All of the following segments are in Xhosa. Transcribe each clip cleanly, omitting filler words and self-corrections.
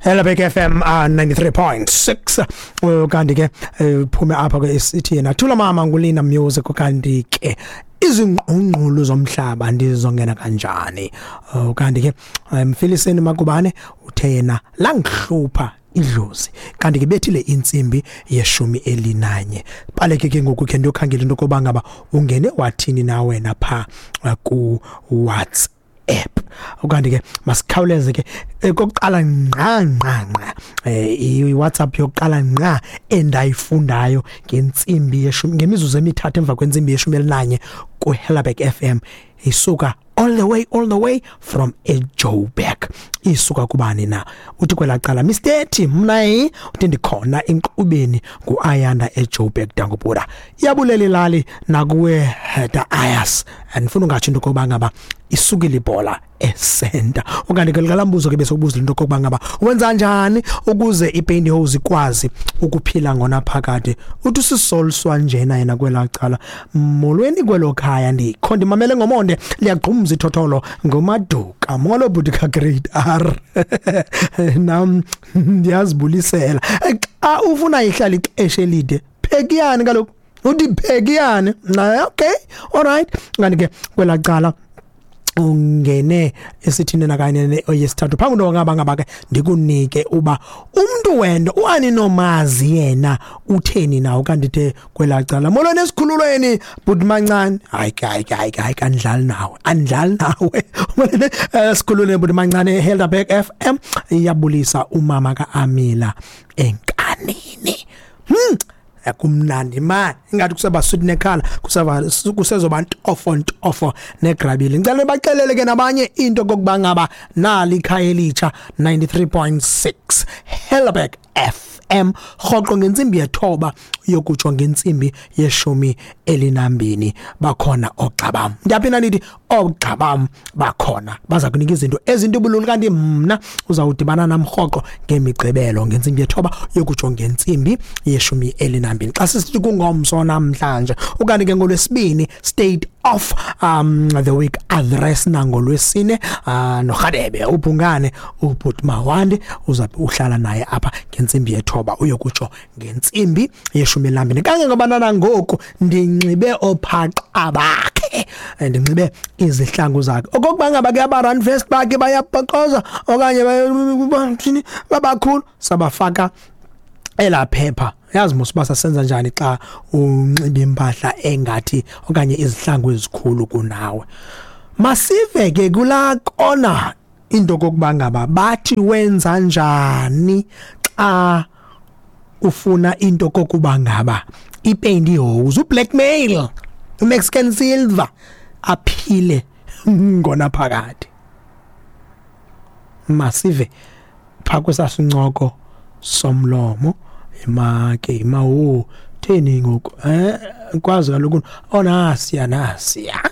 Hello Big FM 93.6. Kanti ke uphume apha ke isithi yena thula mama ngulina music. Kanti ke izingqungqulu zomhlaba ndizongena kanjani? Kanti ke Mfiliseni Makubane uthe yena langihlupha idlozi. Kanti ke bethile intsimbi yeshumi elinanye. Baleke ke ngoku ke ndiyokhangela into yokoba ngaba ungene wathini na wena pha ku WhatsApp. Ukanti ke masikhawuleze ke kokuqala ngqa ngqa ngqa, i-WhatsApp yokuqala ngqa endayifundayo ngentsimbi yeshumi ngemizuzu 3 emva kwentsimbi yeshumi elinanye ku-Helderberg FM isuka all the way from eJoburg. Isuka kubani na? Uthi kwelaa cala, Mr T, mna uthi ndikhona enkqubeni, ngu-Ayanda eJoburg. Dangubura, iyabulela ilali nakuwe da ayas. Andifuna ungatsho into yokokuba ngaba isukile ibhola esenta. Okanye ke likalambuzo ke besokubuzela into yokokuba ngaba wenza njani ukuze ipantyhose ikwazi ukuphila ngonaphakade. Uthi usisolswa njena yena kwelaa cala, molweni kwelo khaya, ndikho ndimamele ngomonde, liyagqumza ithotholo ngomaduka. Molo bhuti ka-grade R, nam ndiyazibulisela. Xa ufuna ihlala ixesha elide, phekiyani kaloku, uthi phekiyani. Okay, alright. Kanti ke kwelaa cala ungene esithini nakanye oyesithathu phambi kwento ngaba ngaba ke ndikunike uba umntu wento uaninomazi yena utheni nawo. Kanti the kwelaa cala, molweni esikhululweni bhuti mancane. Hayi ke, hayi ke, hayi ke, hayi ke, andidlali nawe, andidlali nawe. Molweni esikhululweni bhuti mancane. Helderberg FM iyabulisa umama kaAmila enkanini. Kumnandi man, ingathi kuseba sweet nekhala, kuseba kusezoba ntofo ntofo negrabile. Ngicela baxelele ke nabanye into kokuba ngaba nali ikhaya elitsha 93.6 Helderberg FM rhoqo ngentsimbi yethoba yokutsho ngentsimbi yeshumi elinambini. Bakhona oogxabam, ndiyaphinda ndithi oogxabam bakhona, baza kunika izinto ezintubululu. Kanti mna uzawudibana nam rhoqo ngemigqibelo ngentsimbi yethoba yokutsho ngentsimbi yeshumi elinambini, xa sisithi kungomso namhlanje. Ukanti ke ngolwesibini, state of the week address, nangolwesine noRhadebe ubhungane ubhut Mawande uzabe uhlala naye apha ngentsimbi yethoba uyokutsho ngentsimbi yeshumi elinambini. Kangangoba nangoku ndinxibe ophaqa bakhe, ndinxibe izihlangu zakhe, okokuba ngaba ke aba-run first bakhe bayabhoqoza okanye bathini, babakhulu sabafaka elaa phepha. Yazi mos uba sasenza njani xa unxiba impahla engathi okanye izihlangu ezikhulu kunawe. Masive ke kulaa kona into kokuba ngaba bathi wenza njani xa ufuna into kokuba ngaba ipantyhose, ublackmail, uMexican silver aphile ngonaphakade. Masive phaa kwesasincoko somlomo. Imake imawo theni ngoku kwazi kaloku onasiya nasiya.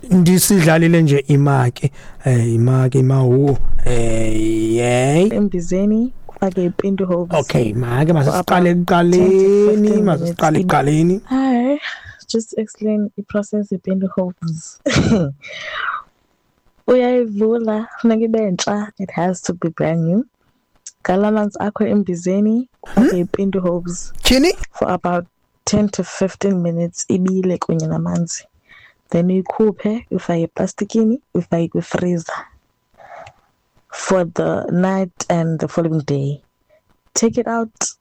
Ndisidlalile nje imake imake imawo yey. Embizeni ufake ipantyhose. Okay, make masiqale ekuqaleni, masiqale ekuqaleni. Hi, just explain i-process yepantyhose. Uyayivula, funeka ibe ntsha, it has to be brand new. Gala amanzi akho embizeni, ufake ipantyhose tyhini for about 10 to 15 minutes ibile kunye namanzi. Then uyikhuphe, uyifake eplastikini, uyifake kwi-freezer for the night and the following day. Take it out,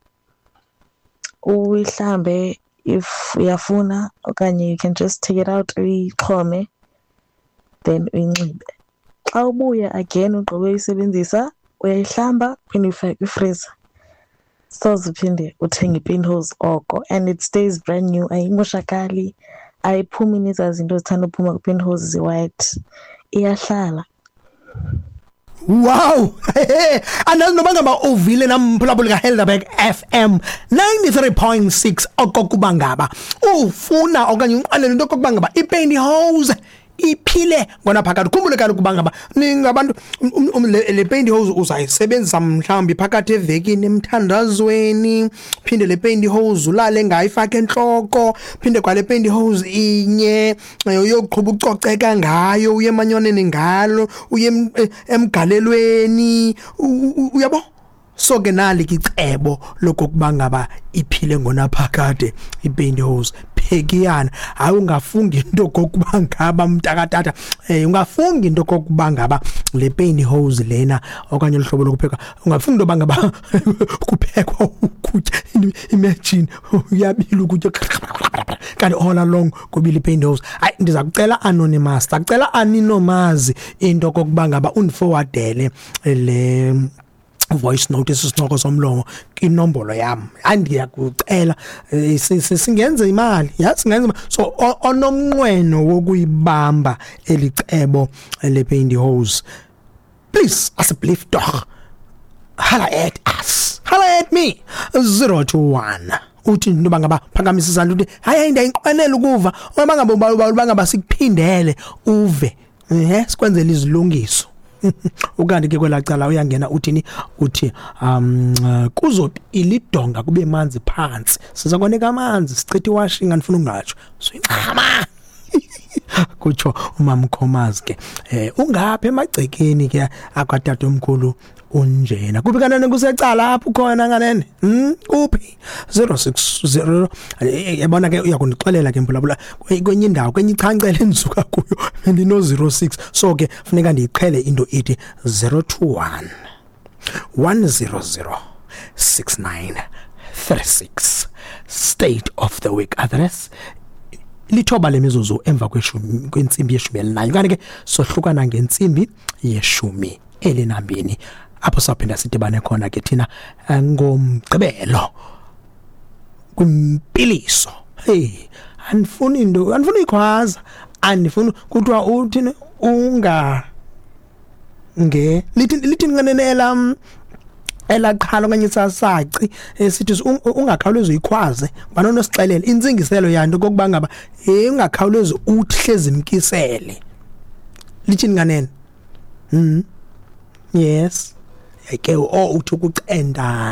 uyihlambe if uyafuna okanye you can just take it out uyixhome, then uyinxibe. Xa ubuya again ugqibe uyisebenzisa, uyayihlamba uphinde uyifake kwi-freezer. Soze uphinde uthenge ipantyhose oko, and it stays brand new, ayimoshakali, ayiphumi nezaa zinto zithanda uphuma kwipantyhose zi-white, iyahlala. Wow! Andazi noba ngaba uvile namphulaphuli kaHelderberg FM 93.6 okokuba ngaba ufuna okanye unqwenela into okokuba ngaba ipantyhose. Iphile ngonaphakade. Khumbule kaloku uba ngaba ningabantu, le pantyhose uzayisebenzisa mhlawumbi phakathi evekini emthandazweni, phinde le pantyhose ulale ngayo, ifake entloko, phinde kwale pantyhose inye uyoqhuba ucoceka ngayo, uye emanywaneni ngalo, uye emgalelweni, uyabo. So ke nali ke icebo lokokuba ngaba iphile ngonaphakade ipantyhose. Phekiyana, hayi, ungafungi into kokuba ngaba, mntakatata, ungafungi into kokuba ngaba le pantyhose lena okanye luhlobo lokupheka, ungafungi into yoba ngaba kuphekwa ukutya. Imagine uyabila ukutya kanti all along kubila ipantyhose. Hayi, ndiza kucela anonymous, ndakucela aninomazi into kokuba ngaba undiforwardele le voice note, esisincoko somlomo, inombolo yam. Hayi, ndiyakucela, singenze imali, ya, singenza imali. So onomnqweno wokuyibamba elicebo le pantyhose, please, asseblief tog, holla at us, holla at me, 021. Uthi into yoba ngaba phakamisa isandla, uthi hayi, hayi, ndiyayinqwenela ukuva uba ngaba uba ngaba sikuphindele uve, ehe, sikwenzele izilungiso. Ukanti ke kwelaa cala uyangena, uthini? Uthi kuzobila idonga kube manzi phantsi, siza koneka amanzi, sichithe iwashing, andifuna ungatsho suyincama, kutsho umamkhomazi ke. Ungapha emagcekeni ke akatatomkhulu unjena kuphi kanene? Kusecala apho khona kanene, Kuphi? 060, yabona ke, uyakundixelela ke mbulabula kwenye indawo, kwenye ichancele endisuka kuyo bendino 06, so ke funeka ndiyiqhele into ithi 021 100 6936. State of the week address. Lithoba lemizuzu emva kweshumi kwentsimbi yeshumi elinanye, kanti ke sohlukana ngentsimbi yeshumi elinambini, apho sawuphinda sidibane khona ke thina ngoMgqibelo kwimpiliso. Hey, andifuni into, andifuni ikhwaza, andifuni kuthiwa uthini, unga nge lithi lithi nqenene elam elaqhala okanye sasaci esithi ungakhawulezi uyikhwaze, banonosixelela intsingiselo yanto kokuba ngaba hey, ungakhawulezi uthi hlezi mkisele. Lithini kanene? Yes, ke o uthi ukucendana.